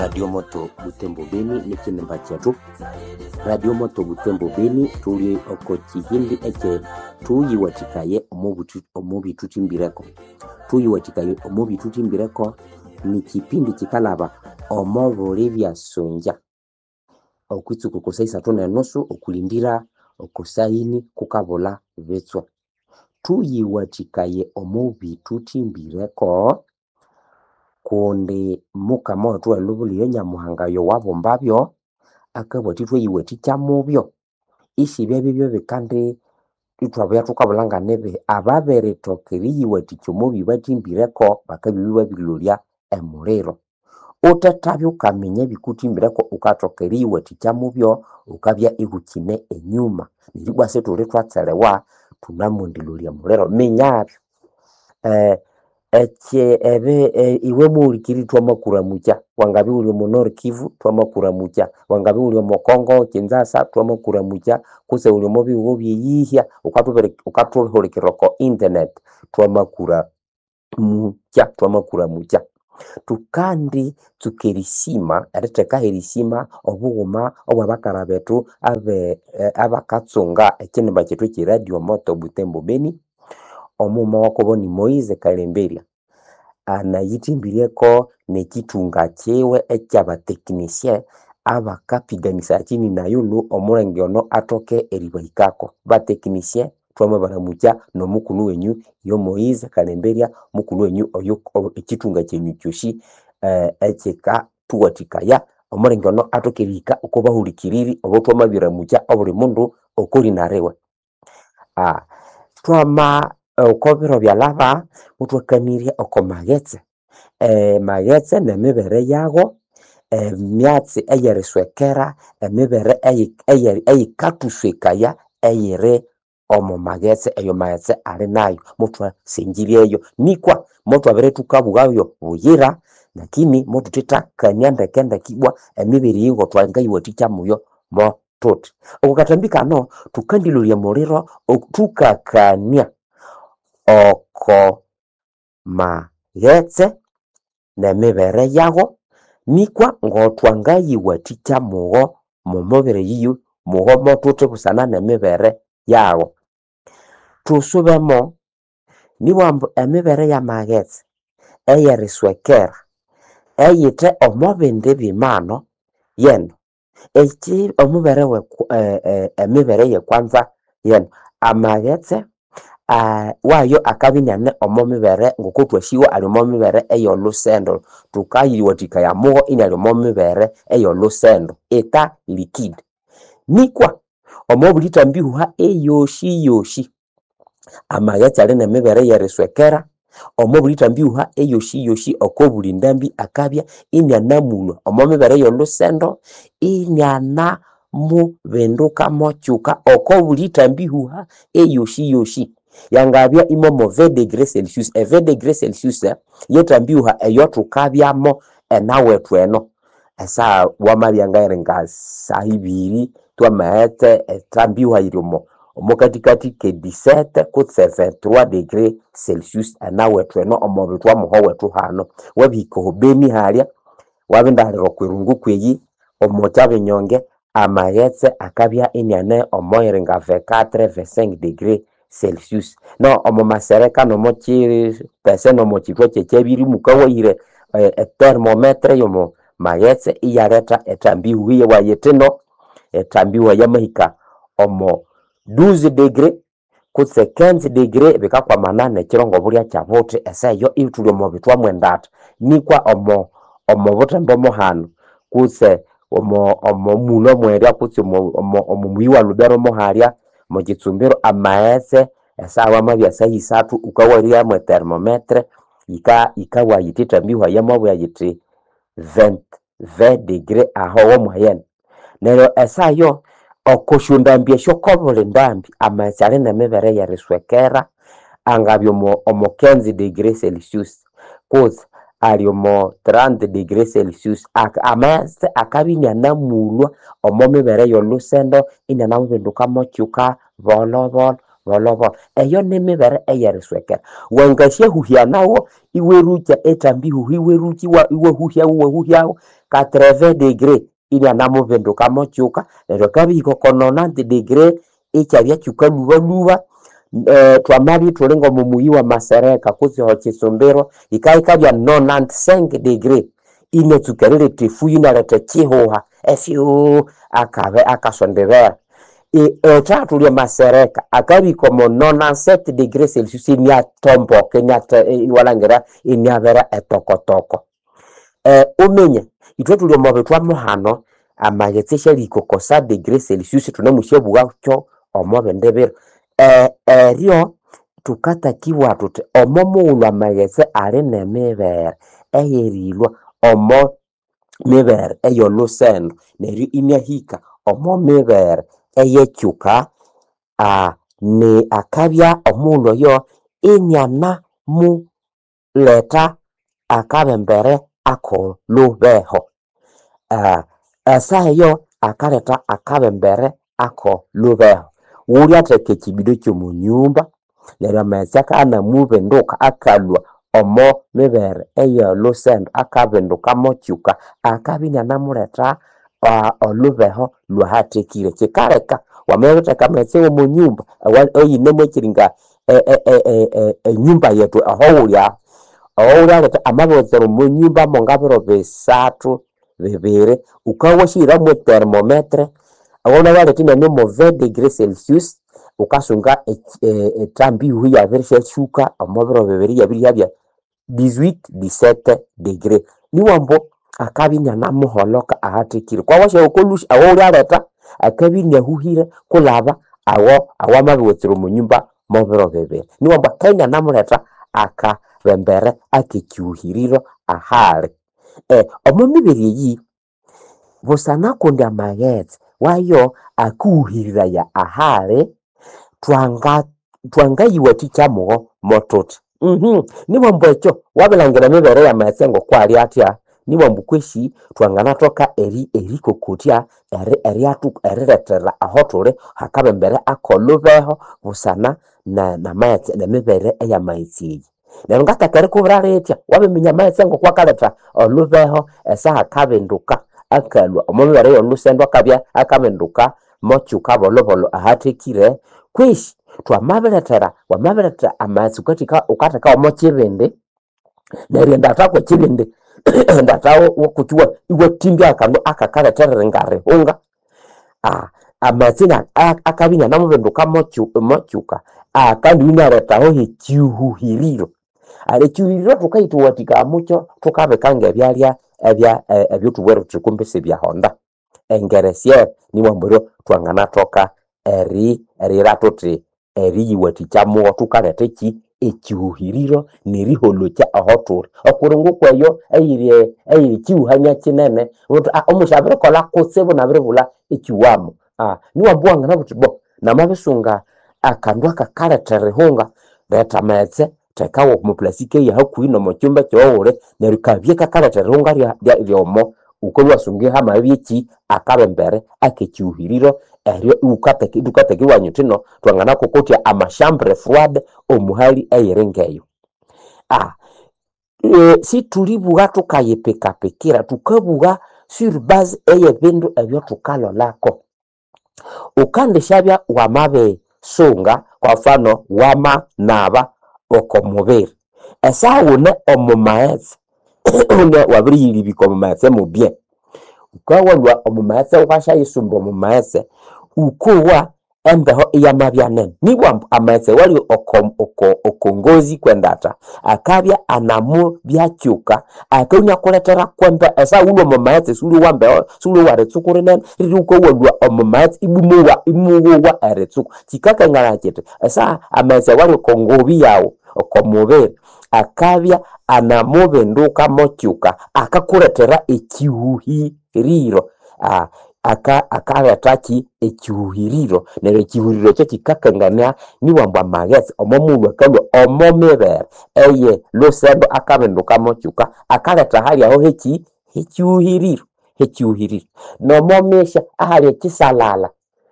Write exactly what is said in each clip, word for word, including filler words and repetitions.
Radio Moto Butembo Beni nekinimba kyethu Radio Moto Butembo Beni thuli oko kihindi ekye thuyiwathikaye omo bithukimbireko thuyiwathikaye omo bithukimbireko nikipindi kikalhaba omo buli byasongya okwitsuku oko saa isathu nenusu okulindira oko saa ini kukabulha bitswa. Thuyiwathikaye omo bithukimbireko kundi mukama wethu welhubilyo oyo Nyamuhanga oyo wabumbabyo akabugha athi thwayiwathikya mubyo isibya bibyo bikandi ithwabya thukabulha nganibihi ababirithoka eriyiwathikya omo bibathimbireko bakabya ibabirilolya emuliro. Uthethabya wukaminya ebikuthimbireko wukathoka eriyiwathikya mubyo wukabya iwukine enyuma neryo ibwa sithuli thwatselewa thunamwendirirya omuliro. Minyabyo ekyi ebi iwe muhulikiriri thwamakuramukya wangabya iwuli omo Nord Kivu thwamakuramukya, wangabya iwuli omo Congo Kinshasa thwamakuramukya kutse wuli omo bihugho ebyeyihya wukathuhulikirira oko internet thwamakuramukya thwamakuramukya. Thukandi tsuka erisima erithekaho erisima obughuma obwabakara bethu abe abakatsunga ekinimba kyethu ekye Radio Moto Butembo Beni. Omughuma wakubo ni Moise Kalemberya anayithimbireko nekithunga kiwe ekyabatekinisye abakapiganisaya chini na yulu omulenge ono athoke eribahikako. Batekinisye thwamabaramukya nomukulhu wenyu yo Moise Kalemberya mukulhu wenyu oyo ekithunga kyenyu kyosi ekikathuwathikaya omulenge ono athoke erihika oko bahulikiriri obo thwamabiramukya obuli mundu okolina riwe. Thwama oko biro byalhaba muthwakanirya oko maghetse, emaghetse nemibere yago, emyatsi eyeriswekera, emibere eyikathuswekaya eyiri omo maghetse eyo maghetse ali nayo muthwasengiryeyo nikwa muthwabere thukabughayo buyira lakini muthuthetthakania ndekendeke ibwa emibere eyi ngotwangayiwathikya muyo mo thuthi. Oko kathambi kano thukandilolya omuliro thukakania oko maghetse nemibere yago nikwa ngotwangayiwathikya mugho mumibere eyiyo mugho mothuthi busana nemibere yago. Thusubemo nibugha ambu emibere yamaghetse eyeriswekera eyithe omo bindi bimano yeno eki omubere emibere eyekwanza yeno amaghetse wayo akabya iniane omo mibere ngokuthwasiwa ali omo mibere eyolhusendo thukayiwathikaya mugho iniali omo mibere eyolhusendo eta liquide. Nikwa omo buli thambihuha eyosi yosi amaghetse ali nemibere eyeriswekera omo buli thambihuha eyosi yosi oko buli ndambi akabya inianamulhwa omo mibere eyolhusendo inianamubinduka mokyuka oko buli thambihuha eyosi yosi yangabya imomo vingt degree celsius. E vingt degree celsius yethambihuha eyothukabyamo enawethu eno esaha wamabya ngayiri nga saha ibiri thwamaghetse ethambihuha yiri omo omokathikathi ke dix-sept kutse vingt-trois degree celsius enawethu eno omo bithwa muho wethu hano. Wabihika oho Beni halya wabindahilira okwirungu kweyi omo kyabinyonge amaghetse akabya iniane omo yiri nga vingt-quatre vingt-cinq degree celsius. No omo masereka nomo kyipese nomo kyithwa kyekyabiri mukawahire e thermometer eyomo maghetse iyaletha ethambihuha iyawayithi no ethambihuha yamahika omo douze degree kutse quinze degree bikakwamana nekyiro ngobulya kyabuthi esaha eyo ithuli omo bithwa mwendatha nikwa omo omo buthembo muhano kutse omo omo mulho mwerya kutse omo omo muyi wa Lubero muhalya omo kitsumbiro amaghetse esaha wamabya saha isathu wukawalyamu e thermometer yika yikabugha yithi ethambihuha yamabugha yithi vingt vingt degree aho womwayene. Neryo esaha eyo oko syondambi esyo kobuli ndambi amaghetse ali nemibere eyeriswekera angabya omo omo quinze degree celsius kutse ali omo trente degree celsius amaghetse akabya inianamulhwa omo mibere eyolhusendo inianamubinduka mokyuka bolho bolho. bolobolo. Eyo nimibere eyeriswekera. Wangasyahuhya nawo iwerukya ethambi ihuha iwerukya iwahuhyawo iwahuhyawo quatre-vingts degree inyanamubinduka mokyuka neryo akabihika oko nonante degree ikyabya kyukalhubalhuba. Twamabya ithuli ng'omo muyi wa Masereka kutse Kitsumbiro yikabya nonante-cinq degree inatsuka eriletha efuyo inaletha ekyihuha efyuu akabe akasondibera. Ethathu lya Masereka akabihika omo nonante-sept degree celsius iniatomboka iwalhangira iniabera etokotoko. Wuminye ithwe thuli omo bithwa muhano amaghetse asyalihika oko cent degree celsius thunemusyabugha kyo omo bindi biro. Eryo thukatakibugha thuthi omo mughulhu amaghetse ali n'emibere eyerilhwa omo mibere ey'olhusendo neryo iniahika omo mibere eyekyuka ni akabya omughulhu oyo inianamuletha akabembere ak'olhubeho. Esaha eyo akaletha akabembere ak'olhubeho. Wulyatheka ekyibido ky'omo nyumba neryo amaghetse akanamubinduka akalhwa omo mibere ey'olhusendo akabinduka mokyuka akabya inianamuletha olhubeho lwahathekire. Kyikaleka wamabiritheka amaghetse w'omo nyumba eyinemo ekyiringa enyumba yethu ahowuli aho, owulyaletha amabirighetsera omo nyumba mwangabiro bisathu bibiri wukabya washihira mwe thermometer awunayaletha inabya mo vingt degree celsius wukasunga ethambi ihuha iyabirisyatsuka omo biro bibiri iyabirihyabya dix-huit dix-sept degree. Niwambu akabya inianamuholoka ahathekire. Kwawasyawa okolhusi awawulyaletha akabya iniahuhire kulaba awo awamabirighetsera omo nyumba mobiro bibiri. Niwambu akabya inianamuletha akabembere akekyihuhiriro ahali. Omo mibere eyi busana kundi amaghetse wayo akuhuhiriraya ahali twanga twangayiwathikya mugho mothuthi. Niwambu ekyo wabilhangira emibere y'amaghetse ng'okwali athya niwambu kwesi twanganathoka eri erikokotya erilethera ahothuli hakabembere ak'olhubeho busana n'amaghetse n'emibere ey'amaghetse eyi. Neryo ngathaka erikubwira lithya wabiminya amaghetse ng'okwakaletha olhubeho esaha akabinduka akalhwa omo mibere ey'olhusendo akabya akabinduka mokyuka bolhobolho ahathekire kwesi twamabilethera wamabiletha amaghetse wukatheka wukatheka w'omo kyibindi neryo endatha kw'ekyibindi endatha wokutsi iwathimbya akandu akakalethera eringa rihunga amaghetse akabya inianamubinduka mokyuka akandi inialethaho h'ekyihuhiriro. Ekyihuhiriro thukayithuwathikaya mukyo thukabika ng'ebyalya ebya ebyathubwere thuthi kumbi sibyahonda engeresyere niwambu eryo thwanganathoka eri eriyira thuthi eriyiwathikya mugho thukaletha ekyi ekyihuhiriro neriholokya ahothuli. Okuli ngukweyo eyiri eyiri kyihuhania kyinene wuthi omusi abirikolha kutsibu inabiribulha ekyiwamo. Niwambu wanginabugha wuthi bo namabisunga akandu akakaletha erihunga letha amaghetse thekawo omo plastic eyahakuhi n'omo kyumba kyowuwuli neryo kabye kakaletha erihunga ryomo wukabya iwasunga hamabya ekyi akabembere akekyihuhiriro eryo iwukatheka ithukatheka iwanya wuthino thwanganakokotya ama chambre froide omu hali eyiri ng'eyo. Sithulibugha thukayipikapikira thukabugha sur base ey'ebindu ebyathukalholako. Wukandisyabya wamabisunga kwa mfano wamanaba oko mubiri esaha wune omo maghetse wabiriyilibika omo maghetse mubye wukawalhwa omo maghetse wukasyayisumba omo maghetse wukowa embeho iyamabya nene nibwambu amaghetse awali oko oko okongozi kwendatha akabya anamubyakyuka akabya iniakulethera kwembeho esaha wulhwe omo maghetse siwulyowa mbeho siwulyowa eritsuku rinene riri wukawalhwa omo maghetse imuwowa imuwowa eritsuku. Kyikakanganaya kyithi esaha amaghetse awali oko ngobi yaghu oko mubiri akabya anamubinduka mokyuka akakulethera ekyihuhiriro aka akalethaki ekyihuhiriro neryo ekyihuhiriro ekyo kyikakangania niwambu amaghetse omo mughulhu akalhwa omo mibere eye lhusendo akabinduka mokyuka akaletha ahali aho hekyi hekyihuhiriro hekyihuhiriro. Nomo misya ahali ekyisalala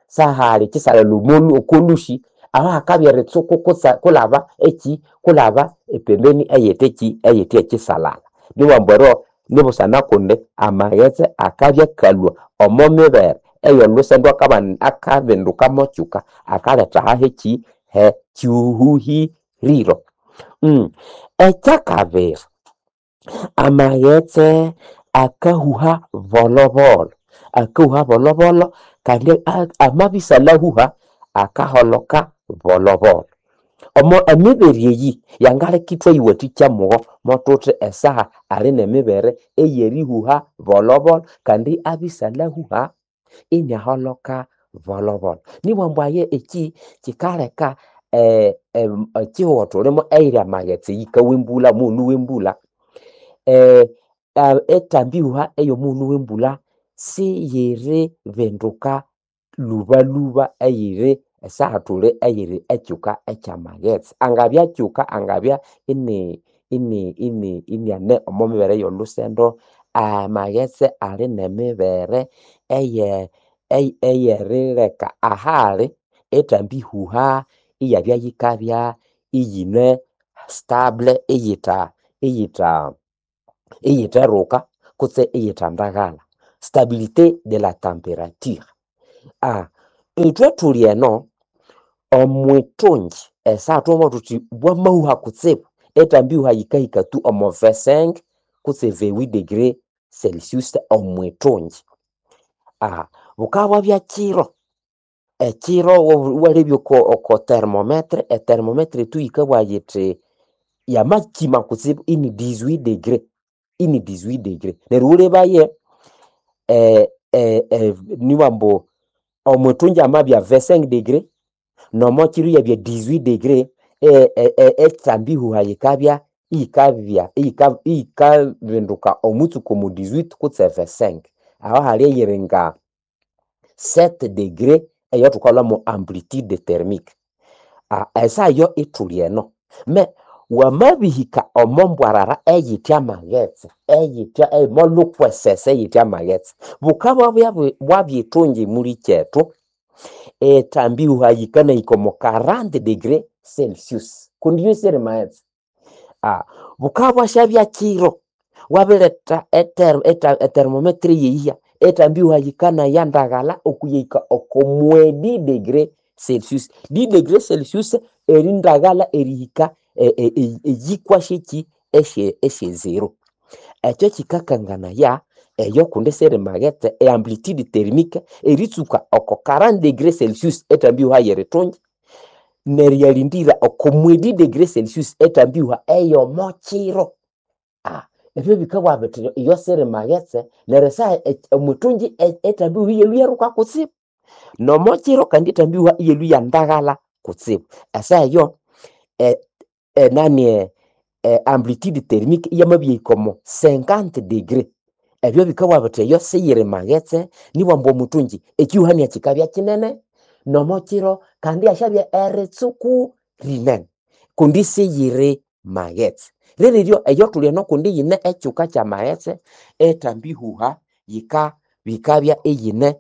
sahali ekyisalala omolhu okolhusi Aho hakabya eritsuku kutse kulaba eki kulaba epembeni eyite eki eyite ekisalala. Niwambu ero nibusana kundi amaghetse akabya akalhwa omo mibere ey'olhusendu akabana akabinduka mokyuka akaletha ahaha eki ekyuhuhiriro. Mm. Ekyakabiri, amaghetse akahuha bolhobolho, akahuha bolhobolho kandi amabisalahuha akaholoka bolhobolho. Omo emibere eyi yangaleka ithwayiwathikya mugho mothuthi esaha ali nemibere eyerihuha bolhobolho kandi abisalahuha iniaholoka bolhobolho. Nibwambu aye eki kikaleka eh, ekihugho thulimo eyiri amaghetse yikawa embulha omughulhu wembulha eh, ethambihuha eyomughulhu wembulha siyiribinduka lhubalhuba eyiri esaha thuli eyiri ekyuka ekyamaghetse. Angabya kyuka angabya ini ini ini iniane omo mibere ey'olhusendo amaghetse ali nemibere eye eyerileka ahali ethambihuha iyabya yikabya iyine stable iyitha iyitha iyitheruka kutse iyithandaghalha. Stabilité de la température. Ah, ithwe thuli eno omwithungi esaha thwamabugha thuthi bwamahuha kutsibu ethambihuha yikahika tu omo vingt-cinq kutse vingt-huit degré celsius omwithungi. Ah, bukabya kyiro, ekyiro iwalebya oko oko thermometer, ethermometer tu yikabugha yithi yamakima kutsibu ini dix-huit degré, ini dix-huit degré. Neryo wulebaye eh, eh, niwambu omwithungi amabya vingt-cinq degré nomokyiro iyabya dix-huit degré ethambihuha yikabya iyikabya iyikabinduka omwitsuku omu dix-huit kutse vingt-cinq. Aho hali eyiringa sept degré eyathukalhwamo amplitude thermique. Esaha eyo ithuli eno me wamabihika omo mbwarara eyithe amaghetse eyithe eyimolhukwesese eyithe amaghetse bukabya bwabyithungi mulikyethu ethambihuha yikanahika omo quarante degré celsius kundi iyo siyiri maghetse. Ah, bukabya bwasyabya kyiro wabiretha ethermometer eyihya ethambihuha yikanaya ndaghalha okuyahika oko moins dix degré celsius. Dix degré celsius erindaghalha erihika eyikwa syeki esye zero. Ekyo kikakanganaya eyo kundi siri maghetse eamplitude thermique eritsuka oko quarante degré celsius ethambihuha yerithungi neryo iyalindira oko moins dix degré celsius ethambihuha eyomokyiro. Ah, ebyo bikabugha bithi iyo siri maghetse neryo esaha omwithungi ethambihuha iyalhwa iyaruka kutsibu nomokyiro kandi ethambihuha iyalhwa iyandaghalha kutsibu. Esaha eyo enani amplitude thermique iyamabyahika omo cinquante degré. Ebyo bikabugha bithi eyo siyiri maghetse nibwambu omwithungi ekyihuhania kikabya kinene nomokyiro kandi ihasyabya eritsuku rinene kundi siyiri maghetse. Liriryo eyo thuli eno kundi yine ekyuka kyamaghetse ethambihuha yika bikabya iyine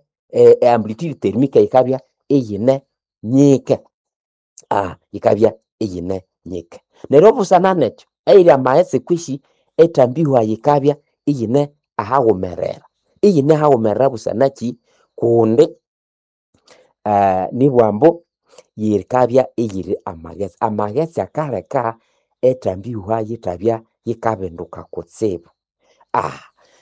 amplitude thermique yikabya iyine nyike. Ah, yikabya iyine nyike. Neryo busana nekyo eyiri amaghetse kwisi ethambihuha yikabya iyine ahaghumerera. Iyine ahaghumerera busana kyi kundi eh, nibwambu yikabya iyiri amaghetse. Amaghetse akaleka ethambihuha yithabya yikabinduka kutsibu. Ah,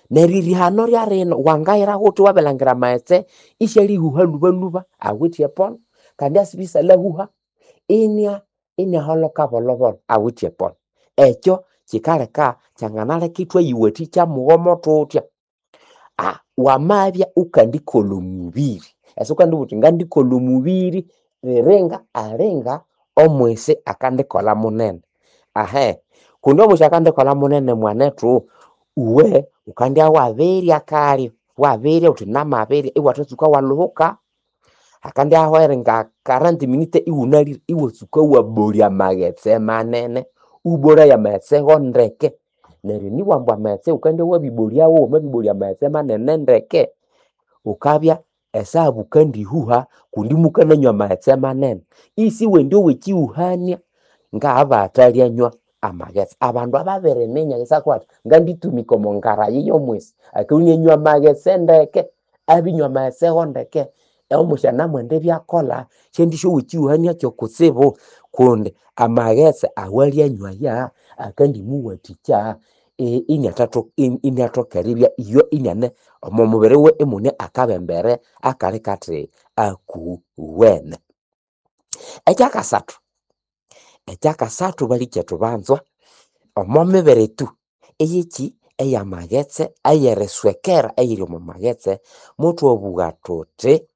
neryo erihano lyarino wangayira ghuthi wabilangira amaghetse isyalihuha lhubalhuba awithe epono kandi asibisalahuha inia iniaholoka bolhobolho awithe epono. Ekyo kikaleka kyanganaleka ithwayiwathikya mughomo thuthya. Ah, wamabya wukandikolha omubiri ese wukandibugha wuthi ngandikolha omubiri riringa alinga omwisi akandikolha munene. Ahe, kundi omwisi akandikolha munene mwanethu uwe wukandya wabirya kalyo wabirya wuthi namabirya iwathatsuka walhuhuka hakandya hahwaho eringa quarante minute iwunalire iwatsuka wabolya amaghetse manene iwabolaya amaghetse go ndeke neryo nibwambu amaghetse wukandya wabibolyawo wamabibolya amaghetse manene ndeke wukabya Esaha bukandihuha kundi mukananywa amaghetse manene. Isiwendi ow'ekihuhania ngabatalyanywa amaghetse. Abandu ababiriminya isakwata nganditumika omo ngarayi y'omwisi akabya inianywa amaghetse ndeke, abinywa amaghetse go ndeke, omusi anamwenda ibyakolha, syandisyowa ekihuhania kyokutsibu kundi amaghetse awalyanywaya akandimuwathikya iniathatho iniathoka eribya iyo iniane omo mubiri wiwe imune akabembere akali kathi akuwene. Ekyakasathu, ekyakasathu balikyetu banzwa, omo mibere tu eyekyi eyamaghetse eyeriswekera eyiri omo maghetse, muthwabugha thuthi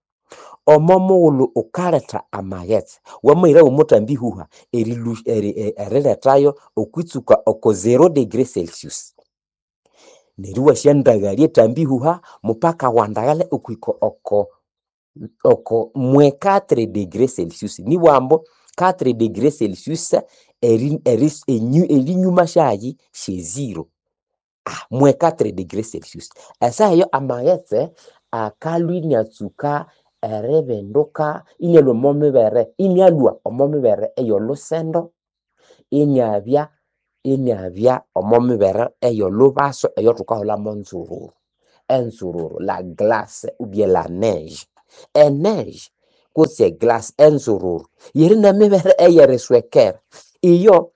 omo mughulhu ghukaletha amaghetse, wamahirawo omuthambihuha erilhu erilhethayo okwitsuka oko zero degree celsius neryo iwasyandaghalya ethambihuha mupaka wandaghalya okwika oko oko mwe quatre degree celsius nibugha ambu quatre degree celsius eri eri erinyuma syahayi syezero mwe quatre degree celsius. Esaha eyo amaghetse akalhwa iniatsuka eribinduka inialhwa omo mibere inialhwa omo mibere ey'olhusendo iniabya iniabya omo mibere ey'olhubaso eyothukahulha monzururu. Enzururu la glace ou bien la neige. Eneige kutse eglace enzururu yiri n'emibere eyeriswekera. Iyo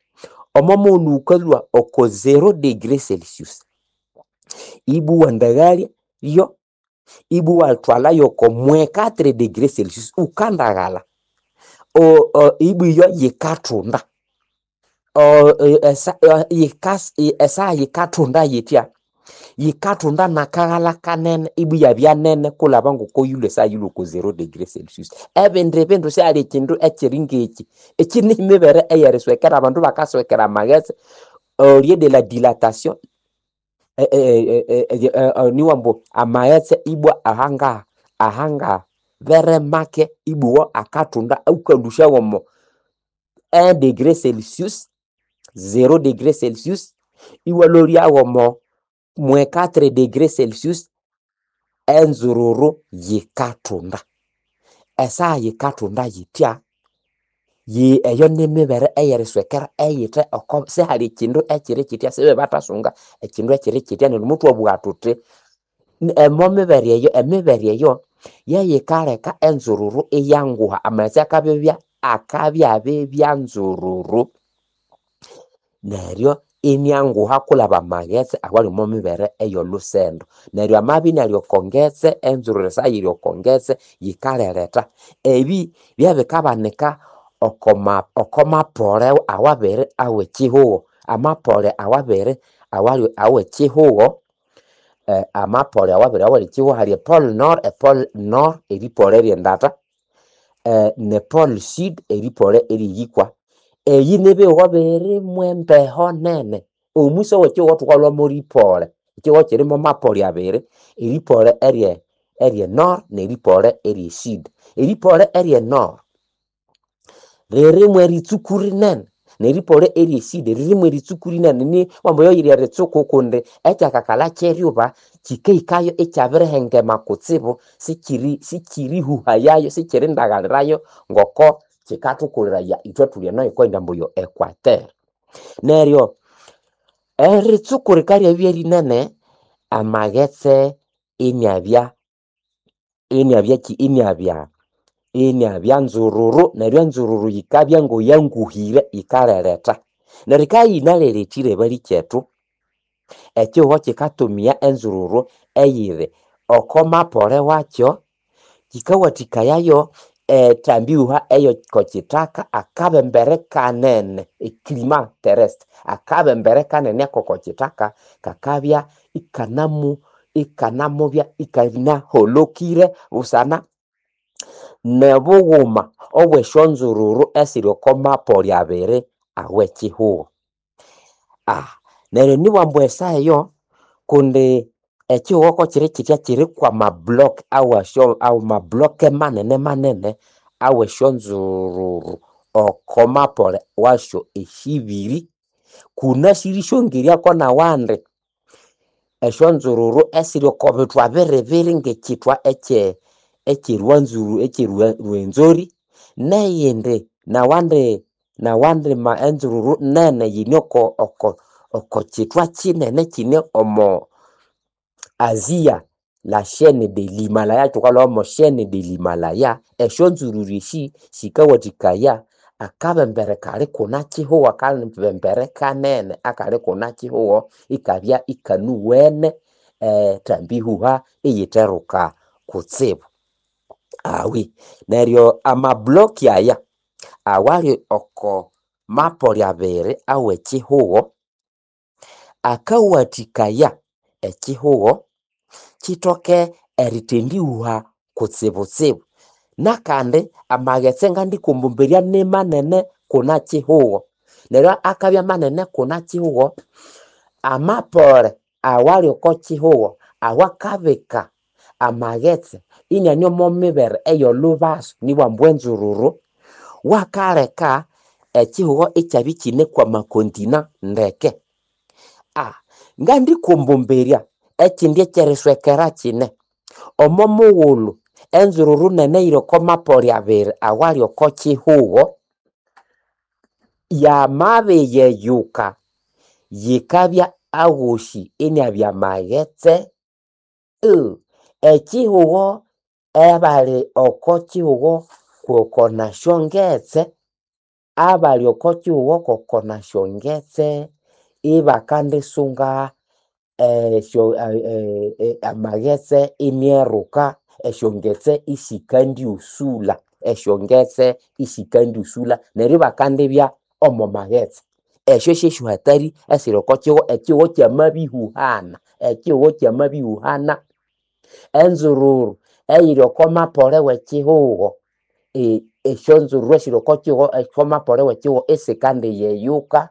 omo mughulhu ghukalhwa oko zero degree celsius ibwa iwandaghalya yo ibwa iwathwala yoko mwe quatre degree celsius wukandaghala ibwa iyo yikathunda esaha yikathunda yithya, yikathunda n'akaghalha kanene ibwa iyabya nene kulhaba ngoko yilhwe esaha yilhwe oko zero degree celsius. Ebindi bindu sihali ekyindu ekyiri ngekyi. Ekyi nimibere eyeriswekera abandu bakaswekera amaghetse au lieu de la dilatation nibugha ambu amaghetse ibwa ahanga ahanga bere make ibwa iwo akathunda awukalhusya womo un degré celsius, zero degree celsius iwalholya womo mwe quatre degree celsius enzururu yikathunda. Esaha yikathunda yithya, eyo nimibere eyeriswekera eyithe oko sihali ekyindu ekyiri kyithya sibebathasunga ekyindu ekyiri kyithya neryo muthwabugha thuthi omo mibere eyo emibere eyo yeyikaleka enzururu iyanguha amaghetse akabibya akabyabibya nzururu neryo inianguha kulhaba amaghetse awali omo mibere ey'olhusendo. Neryo amabya inali oko ngetse enzururu esaha yiri oko ngetse yikaleretha. Ebi byabikabanika okoma okomapole awabiri aw'ekyihugho. Amapole awabiri awali aw'ekyihugho amapole awabiri awali ekyihugho hali epole nord, epole nord eripole ery'endata ne pole sud eripole ery'eyikwa. Eyi nibihugho biri mw'embeho nene. Omwisi ow'ekyihugho thukalhwamo ripole. Ekyihugho kyiri mo mapole abiri, eripole erye erye nord neripole erye sud. Eripole erye nord riri mweritsuku rinene neripole erye sud riri mweritsuku rinene ni ambu yo yiri eritsuku kundi ekyakakalha ky'eryuba kyikahikayo ikyabirihengema kutsibu sikyiri sikyirihuhayayo sikyirindaghalirayo ngoko kyikathukuliraya ithwe thuli eno yikwaghenda ambu yo equateur. Neryo eritsuku rikaryabya rinene amaghetse iniabya iniabyaki iniabya iniabya nzururu neryo enzururu yikabya ngoyanguhire yikaleretha. Neryo yikabya yinalelethire balikyetu ekyihugho kyikatumia enzururu eyiri oko mapole wakyo kyikawathikayayo ethambihuha ey'oko kyithaka akabembere kanene eclima terrestre akabembere kanene ak'oko kyithaka kakabya ikanamu ikanamubya ikanaholokire busana n'obughuma obw'esyonzururu esiri oko mapole abiri aw'ekyihugho. Neryo nibugha ambu esaha eyo kundi ekyihugho kokyiri kyithya kyiri kw'amablock awasyo amablock manene manene aw'esyonzururu oko mapole wasyo esyibiri kunasiri syongeryako n'awandi esyonzururu esiri oko bithwa biribiri ng'ekyithwa ekye eky'erwanzuru eky'erwenzori neyindi nawandi nawandi ma enzururu nene yine oko oko oko kithwa kinene kine omo Azia la chaîne de l'Himalaya thukalhwa mo chaîne de l'Himalaya. Esyonzururu esi sikawathikaya akabembere kali kuna kihugho akabembere kanene akali kuna kihugho ikabya ikanuwene ethambihuha iyitheruka kutsibu. Awi neryo amablock aya awali oko mapoli abiri awekihugho akawathikaya ekihugho kithoke erithendihuha kutsibutsibu. Nakandi amaghetse ngandikumbumberya nimanene kuna kihugho neryo akabya manene kuna kihugho amapole awali oko kihugho awakabika amaghetse iniane omo mibere ey'olubasu nibwambu enzururu wakaleka ekihugho ikyabya ikine kwa makontina ndeke. Ah, ngandikumbumberya ekindi ekyeriswekera kine omo mughulhu enzururu nene eyiri oko mapoli abiri awali oko kihugho yamabiyeyuka yikabya aghosi iniabya maghetse uh, ekihugho abali oko kihugho koko nasyongetse abali oko kihugho koko nasyongetse ibakandisunga esyo amaghetse inieruka esyongetse isikandiusula esyongetse isikandiusula neryo ibakandibya omo maghetse. Esyo syesyohatari esiri oko kihugho ekihugho kyamabihuhana ekihugho kyamabihuhana enzururu eyiri oko mapole w'ekihugho esyonzururu esiri oko kihugho oko mapole w'ekihugho isikandiyeyuka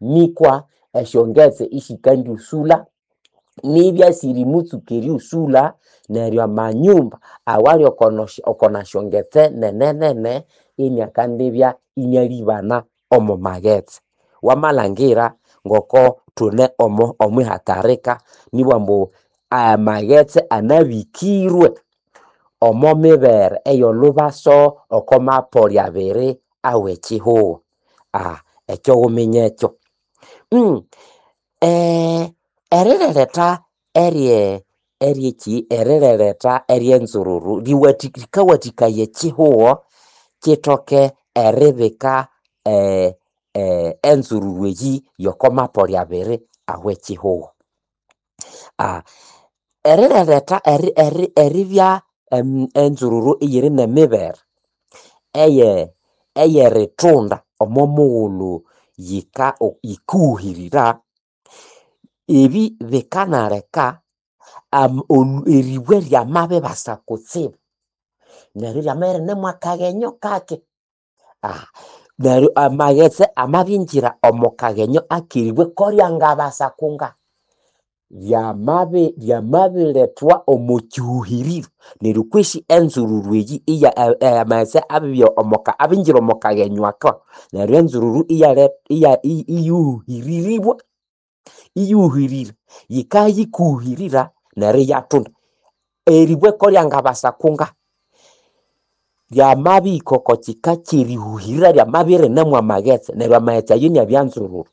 nikwa esyongetse isikandiusula nibya sirimutsuka erighusula neryo amanyumba awali oko nasyongetse nene nene iniakandibya inialibana omo maghetse. Wamalhangira ngoko thune omo omwihatarika nibwambu amaghetse anabikirwe omo mibere ey'olubaso oko mapoli abiri aw'ekihugho. Ah, ekyo wuminye ekyo. Mm, eh, erireretha erye eryeki erireretha eryenzururu riwathi rikawathikaya ekihugho kithoke eribika eh, eh, enzururu eyi yoko mapoli abiri aw'ekihugho. Ah, erireretha eri eri eribya enzururu eyiri n'emibere eye eyerithunda omo mughulhu yika yikuhuhirira ebi bikanaleka eribwe ryamabibasa kutsibu neryo ryamabya irinemu akaghenyo kake ah, neryo amaghetse amabingira omo kaghenyo akeribwe koryangabasa kunga ryamabi ryamabilethwa omo kihuhiriro neryo kwesi enzururu eyi iya amaghetse abibya omo abingira omo kaghenyo ako neryo enzururu iyale iya iyuhiriribwa iyuhirira yikayikuhirira neryo iyathunda eribwe koryangabasa kunga ryamabihika oko kika kyerihuhirira ryamabya irinemu amaghetse neryo amaghetse ayo inabya nzururu.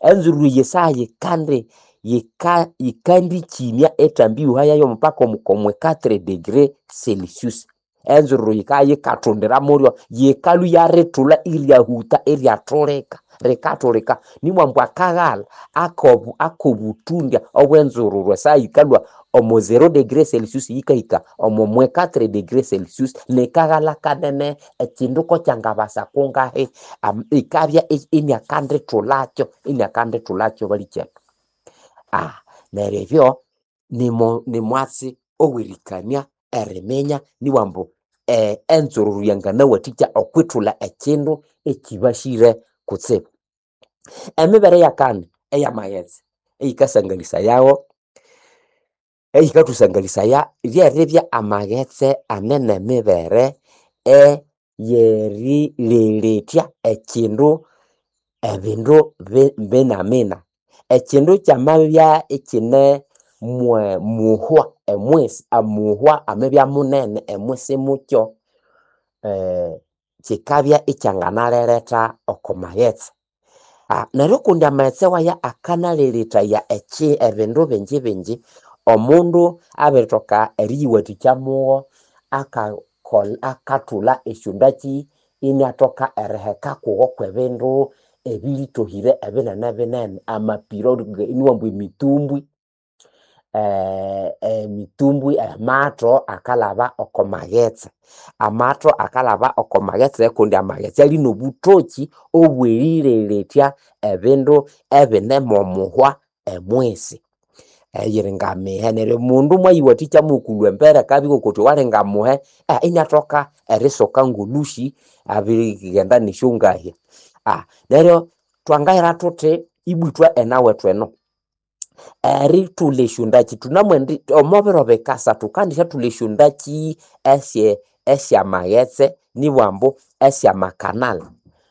Enzururu eyi esaha yikandi yika yikandikimya ethambihuha yayo mpaka omo quatre degree celsius. Enzururu yikabya yikathundira mulyo yikalhwa iyarithulha iryahuta iryathulika rikathulika nibwambu akaghalha akobu akobuthundya obw'enzururu esaha yikalhwa omo zero degree celsius yikahika omo mwe quatre degree celsius nikaghalha kanene ekindu kokyangabasa kungahi ikabya iniakandithulhakyo iniakandithulhakyo balikyethu. Ah, neryo ebyo nimo nimwatsi ow'erikania eriminya nibwambu eh, enzururu yanganawathikya okwithulha ekindu ekibasire kutsibu. Emibere eyakani ey'amaghetse eyikasangalisayawo eyikathusangalisaya ryeribya amaghetse ane n'emibere eyerireretya ekindu ebindu binamina. Ekindu kyamabya ikine mwe muhwa emwisi amuhwa amabya munene emwisi mukyo eh, kikabya ikyanganareretha oko maghetse. Ah, neryo kundi amaghetse waya akanalelethaya eki ebindu bingi bingi omundu abirithoka eriyiwathikya mugho akakolha akathulha esyondakyi iniathoka eriheka kugho kwebindu ebilitohire ebinene binene amapiro iniwamba emitumbwi eh, emitumbwi amatho akalhaba oko maghetse amatho akalhaba oko maghetse kundi amaghetse ali nobuthoki obwerilelethya ebindu ebine momuhwa emwisi eyiri ngamihe neryo omundu mwayiwathikya mukulhwa embere akabya ngokuthi walinga muhe eh, iniathoka erisoka ngolhusi abirighenda nesyongahya. Ah, neryo twangayira thuthi ibwithwa enawethu eno erithulha esyondakyi thunamwendi omo biro bikasa thukandisyathulha esyondakyi esye esyamaghetse nibwambu esyamakanal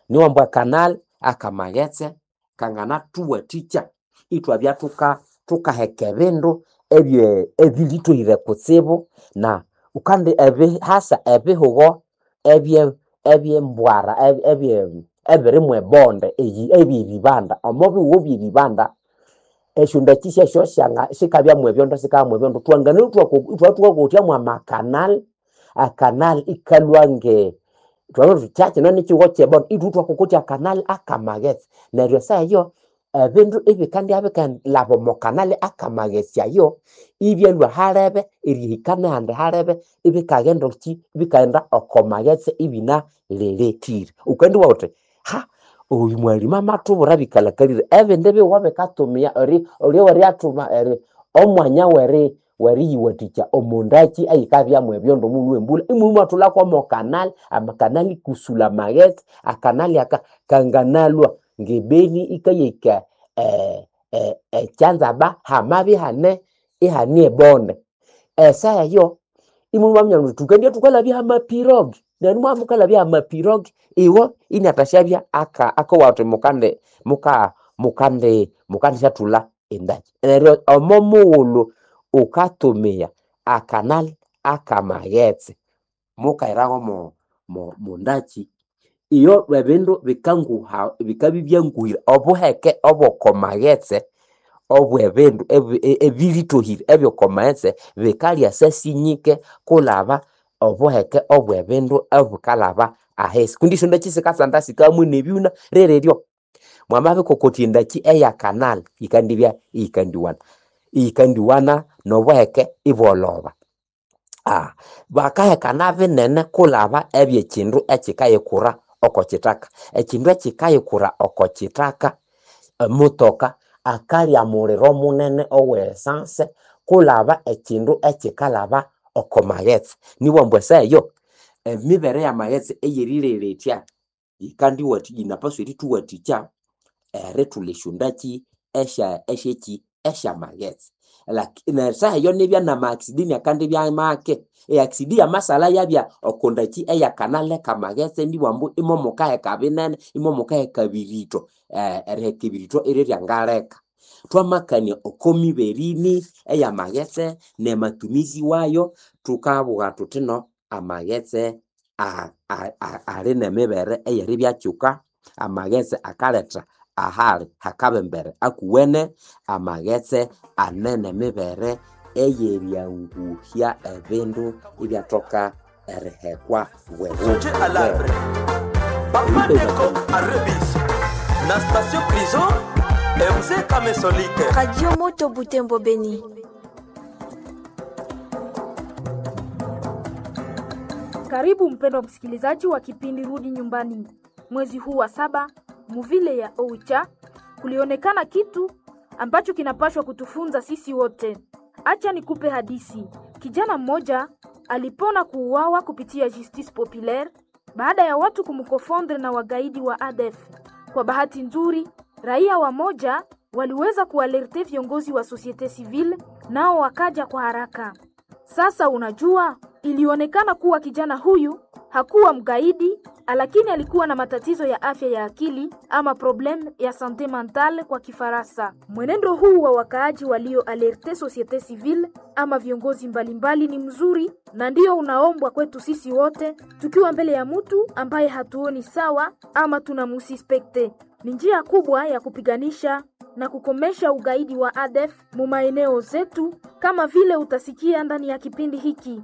niwambu akanal akamaghetse kanganathuwathikya ithwabya thuka thukaheka ebindu ebye ebilithohire kutsibu na kandi ebihasa ebihugo ebye ebyembwara ebye ebiri mwebonde eyi ebyeribanda omo bihugho byeribanda esyondakyi syasyo syanga sikabya mwebyondo sikabya mwebyondo twangana ithwathukakothya mwamakanal akanal ikalhwa nge thwabiri thuthi kyakino nikyihugho kyebonde ithwathukakothya akanal akamaghetse neryo esaha eyo ebindu ibikandibya bikalhaba omo kanali akamaghetse ayo ibyalhwa halebe erihika nehandi halebe ibikaghenda ki ibikaghenda oko maghetse ibinalelethire wukandiwa wuthi ha oyu mwalimu amathubwira bikalhakalire ebindi bihugho bikatumia eri olya eri omwanya weri weriyiwathikya omondakyi eyikabya mwebyondo mughulhu wembulha imwe imwathulhako omo kanali amakanali kusulha amaghetse akanali aka kanganalhwa ngebeni ikayahika eh, eh, ekyanzaba hamabya ihane ihane ebonde esaha eyo imwe mwaminya muthi thukendibya thukalhabya hamapirogi neryo mwamukalhabya hamapirogi iwo iniathasyabya aka akowa athi mukandi muka mukandi mukandisyathulha endakyi neryo omo mughulhu wukatumia akanali akamaghetse mukahiraho mo mo mondakyi iyo ebindu bikanguha bikabya ibyanguhire obuheke obw'okomaghetse obw'ebindu ebi- ebilithohire ebyokomaghetse bikalya sasinyike kulhaba obuheke obw'ebindu obukalhaba ahisi kundi esyondakyi sikasanda sikamwe nebyuna rereryo mwamabikokotya endakyi eyakanali yikandibya iyikandiwana iyikandiwana n'obuheke ibwolhoba. Ah, bakahekana binene kulhaba ebyekyindu ekyikayikura oko kyithaka ekyindu ekyikayikura oko kyithaka emotoka akalya muliro munene owe esanse kulhaba ekyindu ekyikalhaba oko maghetse nibwambu esaha eyo emibere yamaghetse eyerilelethya yikandiwathi yinapaswa erithuwathikya erithulha esyondakyi esya esyeki esyamaghetse lakini esaha eyo nibya nama accident akandibya make eaccident yamasalha yabya okondakyi eyakanali kamaghetse nibwambu imomukaheka binene imomukaheka biritho eh, eriheka ebiritho iryeryangaleka twamakania oko miberini eyamaghetse nematumizi wayo thukabugha thuthi no amaghetse a- a- a- ali nemibere eyeribyakyuka amaghetse akaletha ahali hakabembere akuwene amaghetse ane nemibere eyeryanguhya ebindu ibyathoka erihekwa Songe à l'arbre. Papa Neko à Rebis. Na station prison, M C Kamesolite. Radio Moto Butembo Beni. Karibu mpendwa msikilizaji wa kipindi Rudi Nyumbani. Mwezi huu wa saba, muvile ya Oicha kulionekana kitu ambacho kinapashwa kutufunza sisi wote. Acha nikupe hadisi. Kijana mmoja alipona kuuawa kupitia Justice Populaire baada ya watu kumkofondre na wagaidi wa A D F. Kwa bahati nzuri, raia wa moja waliweza kualerte viongozi wa societe civile, nao wakaja kwa haraka. Sasa unajua, ilionekana kuwa kijana huyu hakuwa mgaidi lakini alikuwa na matatizo ya afya ya akili ama problème ya santé mentale kwa Kifaransa. Mwenendo huu wa wakaaji walio alerte société civile ama viongozi mbalimbali ni mzuri na ndio unaombwa kwetu sisi wote tukiwa mbele ya mtu ambaye hatuoni sawa ama tunamusispekte. Ni njia kubwa ya kupiganisha na kukomesha ugaidi wa A D F mu maeneo zetu, kama vile utasikia ndani ya kipindi hiki.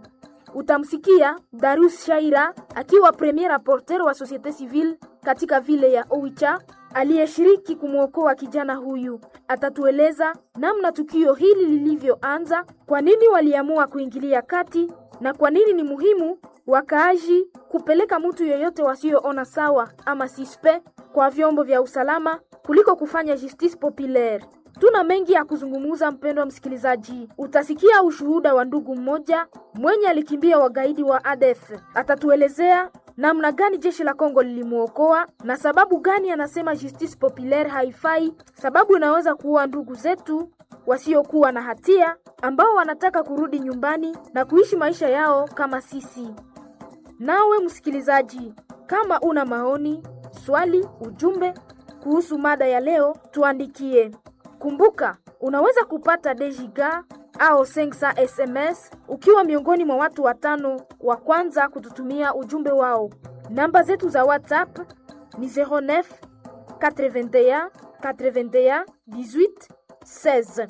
Utamsikia Darius Shaira akiwa premier rapporteur wa société civile katika vile ya Oicha aliyeshiriki kumwokoa kijana huyu. Atatueleza namna tukio hili lilivyoanza, kwa nini waliamua kuingilia kati na kwa nini ni muhimu wakaaji kupeleka mtu yoyote wasioona sawa ama sispe kwa vyombo vya usalama kuliko kufanya justice populaire. Tuna mengi ya kuzungumza, mpendwa msikilizaji. Utasikia ushuhuda wa ndugu mmoja mwenye alikimbia wagaidi wa A D F. Atatuelezea namna gani jeshi la Kongo lilimuokoa na sababu gani anasema justice populaire haifai, sababu inaweza kuua ndugu zetu wasiokuwa na hatia ambao wanataka kurudi nyumbani na kuishi maisha yao kama sisi. Nawe msikilizaji, kama una maoni, swali, ujumbe kuhusu mada ya leo, tuandikie. Kumbuka, unaweza kupata Dejiga au Sengsa S M S ukiwa miongoni mwa watu watano wa kwanza kututumia ujumbe wao. Namba zetu za WhatsApp ni zéro neuf quatre-vingt-un quatre-vingt-un dix-huit seize.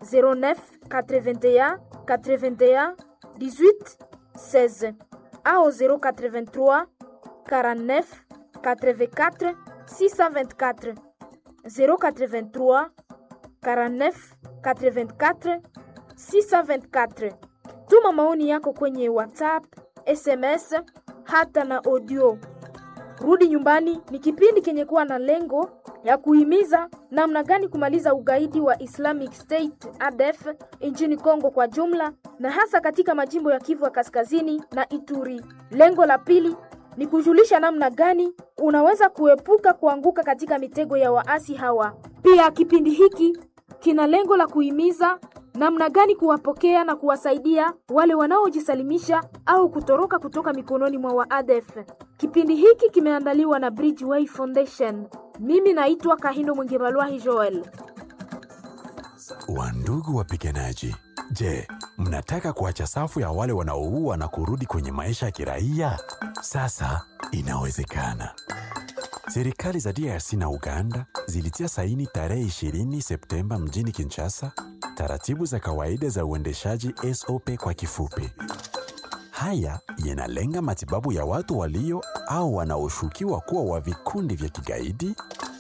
zéro neuf quatre-vingt-un quatre-vingt-un dix-huit seize au zéro quatre-vingt-trois quarante-neuf quatre-vingt-quatre six cent vingt-quatre. zéro quatre-vingt-trois quarante-neuf quatre-vingt-quatre six cent vingt-quatre. Tuma maoni yako kwenye WhatsApp, S M S hata na audio. Rudi Nyumbani ni kipindi kenye kuwa na lengo ya kuhimiza namna gani kumaliza ugaidi wa Islamic State A D F nchini Kongo kwa jumla na hasa katika majimbo ya Kivu ya Kaskazini na Ituri. Lengo la pili ni kujulisha namna gani unaweza kuepuka kuanguka katika mitego ya waasi hawa. Pia kipindi hiki kina lengo la kuhimiza namna gani kuwapokea na kuwasaidia wale wanaojisalimisha au kutoroka kutoka mikononi mwa wa A D F. Kipindi hiki kimeandaliwa na Bridgeway Foundation. Mimi naitwa Kahindo Mwingebalwahi Joel. Wandugu wapiganaji, je, mnataka kuacha safu ya wale wanaoua na kurudi kwenye maisha ya kiraia? Sasa inawezekana. Serikali za D R C na Uganda zilitia saini tarehe ishirini Septemba mjini Kinshasa taratibu za kawaida za uendeshaji S O P kwa kifupi. Haya yanalenga matibabu ya watu walio au wanaoshukiwa kuwa wa vikundi vya kigaidi,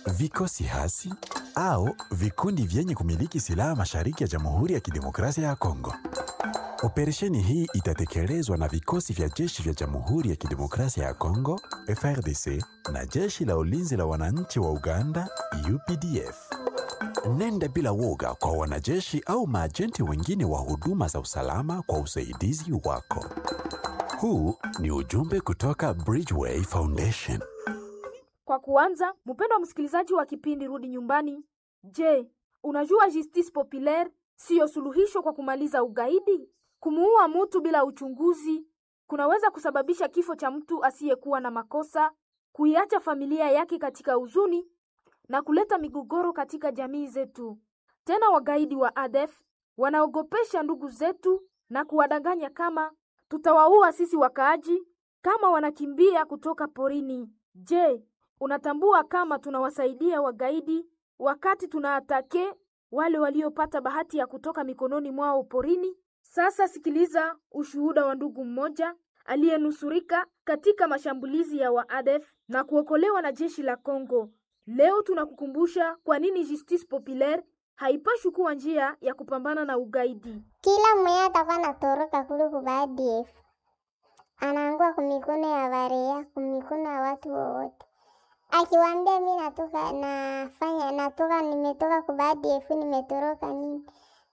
vikosi hasi au vikundi vyenye kumiliki silaha mashariki ya Jamhuri ya Kidemokrasia ya Kongo. Operesheni hii itatekelezwa na vikosi vya jeshi vya Jamhuri ya Kidemokrasia ya Kongo, F R D C, na jeshi la ulinzi la wananchi wa Uganda, U P D F. Nenda bila woga kwa wanajeshi au maajenti wengine wa huduma za usalama kwa usaidizi wako. Huu ni ujumbe kutoka Bridgeway Foundation. Kwa kuanza, mpendwa msikilizaji wa kipindi Rudi Nyumbani, je, unajua justice populaire siyo suluhisho kwa kumaliza ugaidi? Kumuua mtu bila uchunguzi kunaweza kusababisha kifo cha mtu asiyekuwa na makosa, kuiacha familia yake katika huzuni na kuleta migogoro katika jamii zetu. Tena wagaidi wa A D F wanaogopesha ndugu zetu na kuwadanganya kama tutawaua sisi wakaaji kama wanakimbia kutoka porini. Je, unatambua kama tunawasaidia wagaidi wakati tunaatake wale waliopata bahati ya kutoka mikononi mwao porini? Sasa sikiliza ushuhuda wa ndugu mmoja aliyenusurika katika mashambulizi ya wa A D F na kuokolewa na jeshi la Kongo. Leo tunakukumbusha kwa nini justice populaire haipashwi kuwa njia ya kupambana na ugaidi. Kila mwenye atakuwa anatoroka kule ku A D F anaangua kumikono ya barea, kumikono ya watu wowote. Akiwaambia mi natoka nafanya natoka nimetoka ku A D F nimetoroka nini,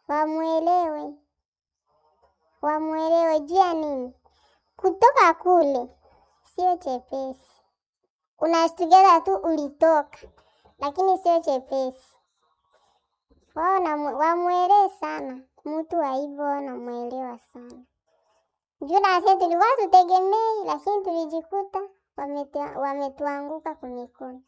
wamuelewe, wamuelewe juu ya nini kutoka kule sio chepesi. Unashtukiza tu ulitoka, lakini sio chepesi. Wao wamuelewe sana mtu wa hivyo, wanamuelewa sana juu na sisi tulikuwa tutegemei, lakini tulijikuta Wametua- Wametuanguka kumikono.